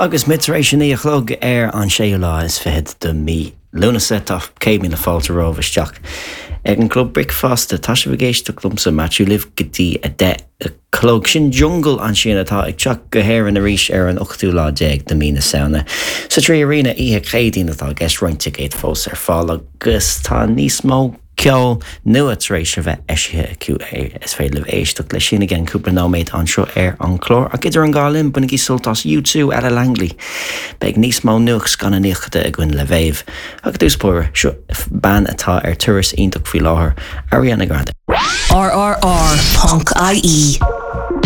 Agus muid tar éis a 9 a chlog ar an séú lá is fichead de mhí Lúnasa, tá 100,000 fáilte romhaibh isteach ag an gClub Bricfeasta. Tá sibh ag éisteacht liomsa, Maitiú, libh go dtí 10 a chlog. Sin Jungle ansin atá ag teacht go hÉirinn arís ar an ochtú lá déag de mhí na Samhna. Sa 3Arena oíche Chéadaoin atá i gceist, roinnt ticéad fós ar fáil agus tá níos mó ceol nua tar éis a bheith eisithe acu. Is féidir libh éisteacht leis sin i gceann cúpla nóiméad anseo ar an chlár. Ach idir an dhá linn, bainigí sult as U2, Ella Langley. Beidh níos mó nuacht scannánaíochta againn le Mhéabh. Ach i dtús báire, seo bean atá ar turas iontach faoi láthair, Ariana Grande. RRR.ie.